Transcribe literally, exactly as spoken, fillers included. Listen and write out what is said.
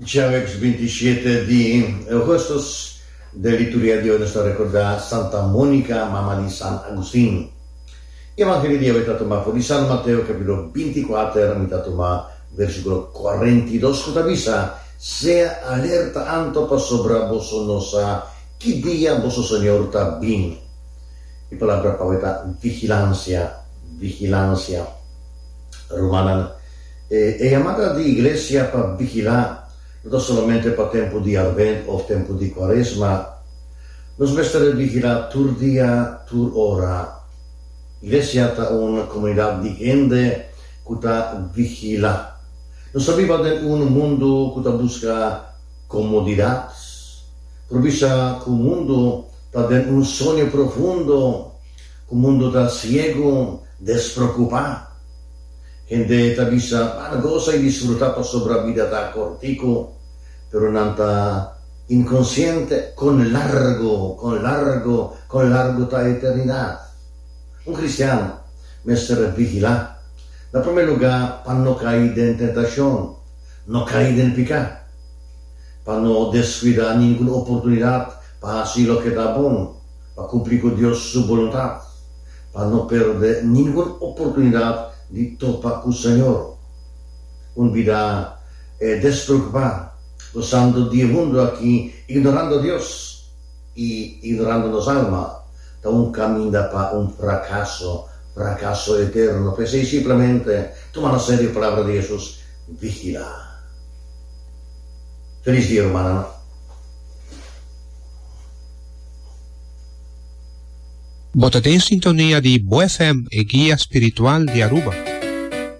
Djaweps binti shete di ougùstùs den liturgia di awe nos ta rekordá Santa Mónika, mama di San Agustin. Evangelio di awe ta tuma for di San Mateo kapítulo binti i kuater, mi ta tuma versíkulo kuarenta i dos ku ta bisa, Sea alerta anto pasobra boso no sa ki dia boso Señor ta bin. E palabra pa awe ta vigilansia, vigilansia. Rumannan, e e yamada di Iglesia pa vigilá no ta solamente pa tempu di Advent òf tempu di Kuaresma. Nos mester vigilá tur dia, tur ora. Iglesia ta un komunidat di hende ku ta vigilá. Nos ta biba den un mundu ku ta buska komodidat. Por bisa ku mundu ta den un soño profundo, ku mundu ta siegu, despreokupá. Hende ta bisa, Ban gosa i disfrutá pasobra bida ta kòrtiku, pero nan ta inkonsiente kon largu, kon largu, kon largu ta eternidat. Un kristian mester vigilá, na promé lugá pa no kai den tentashon, no kai den piká, pa no deskuidá ningun oportunidat pa hasi loke ta bon, pa kumpli ku Dios su boluntat, pa no pèrdè ningun oportunidat di topa ku Señor. Un bida despreokupá, gosando di e mundu aki, ignorando Dios i ignorando nos alma, ta un kaminda pa un frakaso, frakaso eterno. P'esei simplemente tuma na serio palabra di Hesus, Vigilá. Felis dia, rumannan. Bo ta den sintonia di Bo F M, e guia spiritual di Aruba.